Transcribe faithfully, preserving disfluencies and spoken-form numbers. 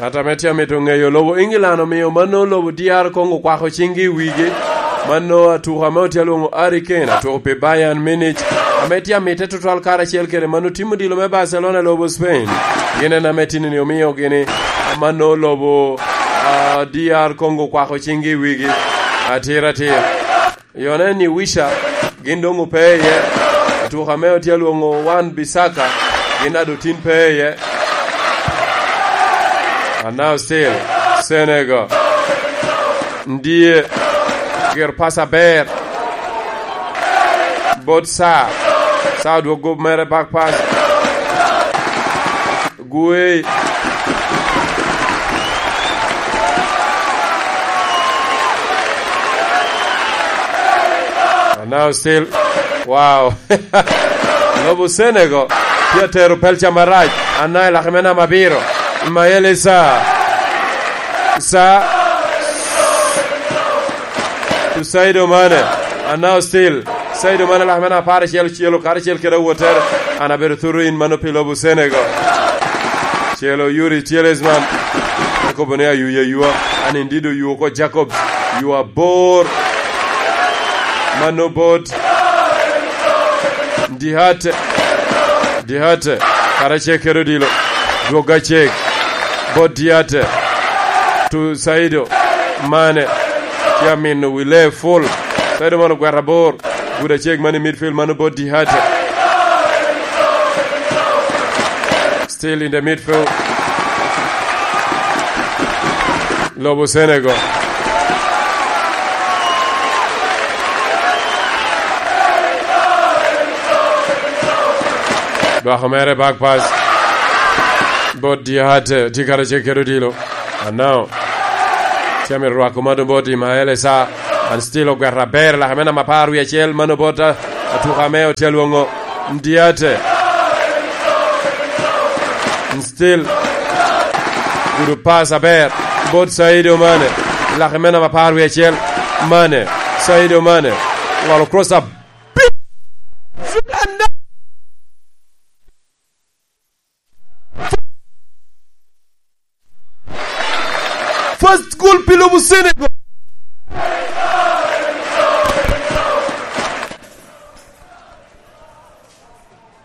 Ŋat ame tye amito ŋeyo lobo England omio mano lobo D R Congo kwako ciŋgi i wigi. Mano atuko ame otye alwoŋo Harry Kane, atuko pi Bayern Munich, ame tye amitte tutwal karacel kede mano tim odilo me Barcelona i lobo Spain. Gin en ame tinni omio gini mano lobo, ah, D R Congo kwako ciŋgi i wigi. Atir atir. Yone ni Wisha, gin doŋ ope iye. Atuko ame otye alwoŋo Wan Bisaka, gin ado tin pe iye. And now still, Senegal. Ndie, gir pas aber. Bot Sa. Sa odwogo mere back pass. Guey. And now still, wow. Lobo Senegal tye atero pelca marac. Anai laki me namba abiro. Mayele Sa. Sa. To Sadio Mane. And now still, Sadio Mane laki me namba apar acel ocelo karacel kede awottere. An abedo thuro in mano pi lobo Senegal. Celo Yuri Tielemans. Ekobo ni ayuya ayua. An indeed oyu oko Jacobs. Yua bor. Mano bot Diate. Diate. Karacel kede odilo. Dwogga cek. Bot Diate. To Sadio Mane. Tye amino wi lee full. Sadio Mane ogwero abor. Gudo acek man i midfield, mano bot Diate. Still in the midfield. Lobo Senegal. Dwako mere back pass. Bot Diate, tye karacel kede odilo. And now, tye amito rwako mano bot Ismael Esa. And still ogwero aber, laka me namba apar wie acel, mano bot, uh, atuka ame otye alwoŋo Diate. And still, gudo pass aber, bot Sadio Mane. Laka me namba apar wie acel, Mane. Sadio Mane. Ŋolo cross up. First goal pi lobo Senegal.